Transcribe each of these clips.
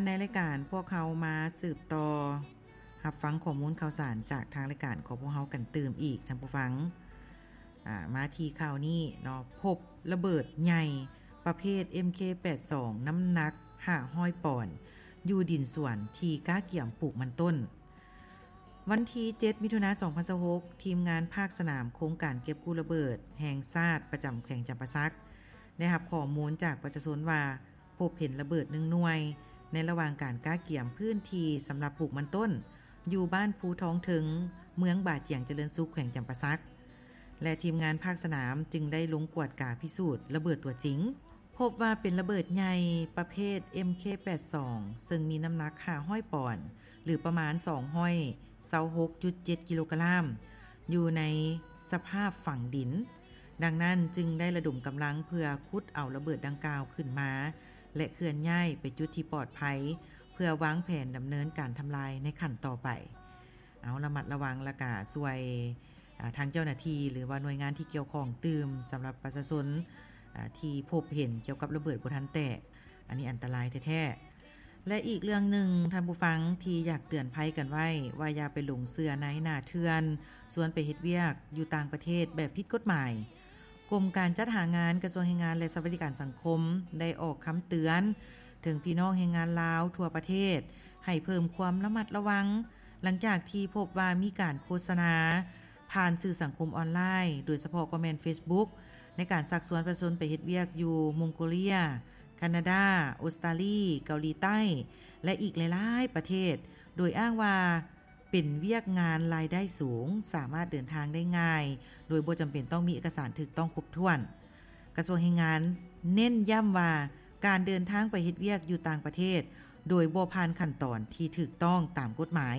ໃນລາຍການພວກເຮົາມາສືບຕໍ່ຮັບຟັງຂໍ້ມູນຂ່າວສານຈາກທາງລາຍການຂອງພວກເຮົາກັນຕື່ມອີກ, ທ່ານຜູ້ຟັງ. ອາ, ມາທີ່ຂ່າວນີ້ເນາະ, ພົບລະເບີດໃຫຍ່ປະເພດ ເອັມເຄ ແປດສອງ ນ້ຳໜັກຫ້າຮ້ອຍປອນ ຢູ່ດິນສວນທີ່ກ້າກຽມປູກມັນຕົ້ນ. ວັນທີເຈັດ ມິຖຸນາ ສອງພັນຊາວຫົກ, ທີມງານພາກສະໜາມໂຄງການເກັບກູ້ລະເບີດແຫ່ງຊາດປະຈຳແຂວງຈຳປາສັກ ໄດ້ຮັບຂໍ້ມູນຈາກປະຊາຊົນວ່າ ພົບເຫັນລະເບີດໜຶ່ງໜ່ວຍ ໃນລະຫວ່າງການກ້າກຽມພື້ນທີ່ສຳລັບປູກມັນຕົ້ນ ຢູ່ບ້ານພູທອງເທິງ ເມືອງບາຈຽງຈະເລີນສຸກ ແຂວງຈຳປາສັກ ແລະ ທີມງານພາກສະໜາມຈຶ່ງໄດ້ລົງກວດກາພິສູດລະເບີດຕົວຈິງ. ພົບວ່າເປັນລະເບີດໃຫຍ່ປະເພດ ເອັມເຄ ແປດສອງ ເຊິ່ງມີນ້ຳໜັກຫ້າຮ້ອຍປອນ ຫຼື ປະມານສອງຮ້ອຍຊາວຫົກຈຸດເຈັດກິໂລກຣາມ ຢູ່ໃນສະພາບຝັງດິນ. ດັ່ງນັ້ນຈຶ່ງໄດ້ລະດົມກຳລັງເພື່ອຂຸດເອົາລະເບີດດັ່ງກ່າວຂຶ້ນມາ ແລະ ເຄື່ອນຍ້າຍໄປຈຸດທີ່ປອດໄພ ເພື່ອວາງແຜນດຳເນີນການທຳລາຍໃນຂັ້ນຕໍ່ໄປ. ເອົາ ລະມັດລະວັງ ແລ້ວກະຊ່ວຍ ອາ ທາງເຈົ້າໜ້າທີ່ ຫຼືວ່າໜ່ວຍງານທີ່ກ່ຽວຂ້ອງຕື່ມ ສຳລັບປະຊາຊົນ ອາ ທີ່ພົບເຫັນກ່ຽວກັບລະເບີດບໍ່ທັນແຕກ, ອັນນີ້ອັນຕະລາຍແທ້ໆ. ແລະ ອີກເລື່ອງໜຶ່ງ ທ່ານຜູ້ຟັງ ທີ່ຢາກເຕືອນໄພກັນໄວ້ວ່າ ຢ່າໄປຫຼົງເຊື່ອນາຍໜ້າເຖື່ອນ ຊວນໄປເຮັດວຽກຢູ່ຕ່າງປະເທດແບບຜິດກົດໝາຍ. ກົມການຈັດຫາງານ ກະຊວງແຮງງານ ແລະ ສະຫວັດດີການສັງຄົມ ໄດ້ອອກຄຳເຕືອນເຖິງພີ່ນ້ອງແຮງງານລາວທົ່ວປະເທດ ໃຫ້ເພີ່ມຄວາມລະມັດລະວັງ ຫຼັງຈາກທີ່ພົບວ່າມີການໂຄສະນາຜ່ານສື່ສັງຄົມອອນລາຍ ໂດຍສະເພາະກໍແມ່ນເຟສບຸກ ໃນການຊັກຊວນປະຊາຊົນໄປເຮັດວຽກຢູ່ມົງໂກເລຍ, ຄານາດາ, ອົດສະຕາລີ, ເກົາຫຼີໃຕ້ ແລະ ອີກຫຼາຍໆປະເທດ ໂດຍອ້າງວ່າ ເປັນວຽກງານລາຍໄດ້ສູງ, ສາມາດເດີນທາງໄດ້ງ່າຍ ໂດຍບໍ່ຈຳເປັນຕ້ອງມີເອກະສານຖືກຕ້ອງຄົບຖ້ວນ. ກະຊວງແຮງງານເນັ້ນຢ້ຳວ່າ ການເດີນທາງໄປເຮັດວຽກຢູ່ຕ່າງປະເທດ ໂດຍບໍ່ຜ່ານຂັ້ນຕອນທີ່ຖືກຕ້ອງຕາມກົດໝາຍ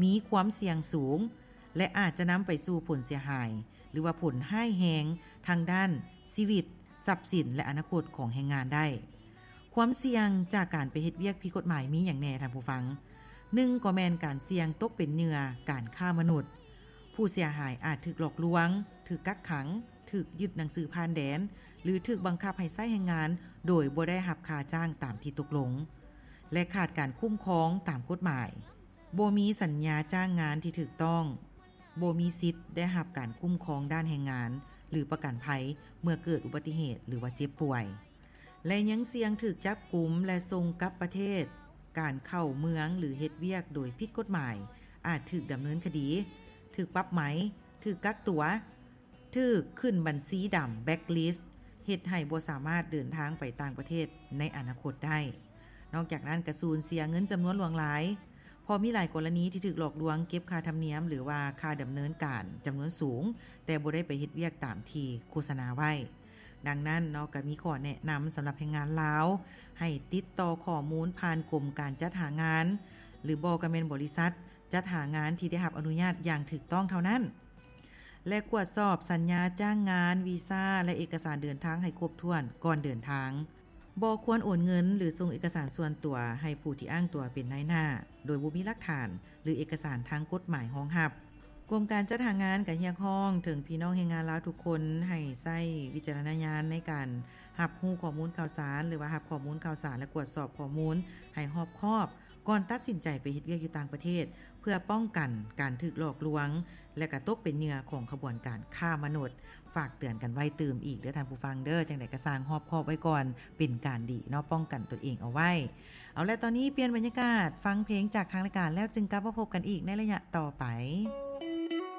ມີຄວາມສ່ຽງສູງ ແລະ ອາດຈະນຳໄປສູ່ຜົນເສຍຫາຍ ຫຼືວ່າຜົນຮ້າຍແຮງທາງດ້ານຊີວິດ, ຊັບສິນ ແລະ ອະນາຄົດຂອງແຮງງານໄດ້. ຄວາມສ່ຽງຈາກການໄປເຮັດວຽກຜິດກົດໝາຍມີຫຍັງແດ່, ທ່ານຜູ້ຟັງ? ໜຶ່ງ ກໍແມ່ນການສ່ຽງຕົກເປັນເຫຍື່ອການຄ້າມະນຸດ. ຜູ້ເສຍຫາຍອາດຖືກຫຼອກລວງ, ຖືກກັກຂັງ, ຖືກຍຶດໜັງສືຜ່ານແດນ ຫຼື ຖືກບັງຄັບໃຫ້ໃຊ້ແຮງງານໂດຍບໍ່ໄດ້ຮັບຄ່າຈ້າງຕາມທີ່ຕົກລົງ ແລະ ຂາດການຄຸ້ມຄອງຕາມກົດໝາຍ. ບໍ່ມີສັນຍາຈ້າງງານທີ່ຖືກຕ້ອງ, ບໍ່ມີສິດໄດ້ຮັບການຄຸ້ມຄອງດ້ານແຮງງານ ຫຼື ປະກັນໄພເມື່ອເກີດອຸບັດຕິເຫດ ຫຼືວ່າເຈັບປ່ວຍ ແລະ ຍັງສ່ຽງຖືກຈັບກຸມ ແລະ ສົ່ງກັບປະເທດ. ການເຂົ້າເມືອງ ຫຼື ເຮັດວຽກໂດຍຜິດກົດໝາຍ ອາດຖືກດຳເນີນຄະດີ, ຖືກປັບໃໝ, ຖືກກັກຕົວ, ຖືກຂຶ້ນບັນຊີດຳ ແບລັກລິດ, ເຮັດໃຫ້ບໍ່ສາມາດເດີນທາງໄປຕ່າງປະເທດໃນອະນາຄົດໄດ້. ນອກຈາກນັ້ນ ກະສູນເສຍເງິນຈຳນວນຫຼວງຫຼາຍ, ເພາະມີຫຼາຍກໍລະນີທີ່ຖືກຫຼອກລວງເກັບຄ່າທຳນຽມ ຫຼືວ່າຄ່າດຳເນີນການຈຳນວນສູງ, ແຕ່ບໍ່ໄດ້ໄປເຮັດວຽກຕາມທີ່ໂຄສະນາໄວ້. ດັ່ງນັ້ນເນາະ, ກະມີຂໍ້ແນະນຳສຳລັບແຮງງານລາວ ໃຫ້ຕິດຕໍ່ຂໍ້ມູນຜ່ານກົມການຈັດຫາງານ ຫຼືບໍ່ກະແມ່ນບໍລິສັດຈັດຫາງານທີ່ໄດ້ຮັບອະນຸຍາດຢ່າງຖືກຕ້ອງເທົ່ານັ້ນ. ແລະ ກວດສອບສັນຍາຈ້າງງານ, ວີຊາ ແລະ ເອກະສານເດີນທາງໃຫ້ຄົບຖ້ວນກ່ອນເດີນທາງ. ບໍ່ຄວນໂອນເງິນ ຫຼື ສົ່ງເອກະສານສ່ວນຕົວໃຫ້ຜູ້ທີ່ອ້າງຕົວເປັນນາຍໜ້າ ໂດຍບໍ່ມີຫຼັກຖານ ຫຼື ເອກະສານທາງກົດໝາຍຮອງຮັບ. ກົມການຈັດຫາງານກະຮຽກຮ້ອງເຖິງພີ່ນ້ອງແຮງງານລາວທຸກຄົນ ໃຫ້ໃຊ້ວິຈາລະນະຍານໃນການຮັບຮູ້ຂໍ້ມູນຂ່າວສານ ຫຼືວ່າຮັບຂໍ້ມູນຂ່າວສານ ແລະ ກວດສອບຂໍ້ມູນໃຫ້ຮອບຄອບ ກ່ອນຕັດສິນໃຈໄປເຮັດວຽກຢູ່ຕ່າງປະເທດ ເພື່ອປ້ອງກັນການຖືກຫຼອກລວງ ແລະ ກະຕົກເປັນເຫຍື່ອຂອງຂະບວນການຄ້າມະນຸດ. ຝາກເຕືອນກັນໄວ້ຕື່ມອີກເດີທ່ານຜູ້ຟັງເດີ, ຈັ່ງໃດກະຊ່າງຮອບຄອບໄວ້ກ່ອນ ເປັນການດີເນາະ, ປ້ອງກັນຕົນເອງເອົາໄວ້. ເອົາລະ, ຕອນນີ້ປ່ຽນບັນຍາກາດ ຟັງເພງຈາກທາງລາຍການ ແລ້ວຈຶ່ງກັບມາພົບກັນອີກໃນໄລຍະຕໍ່ໄປ.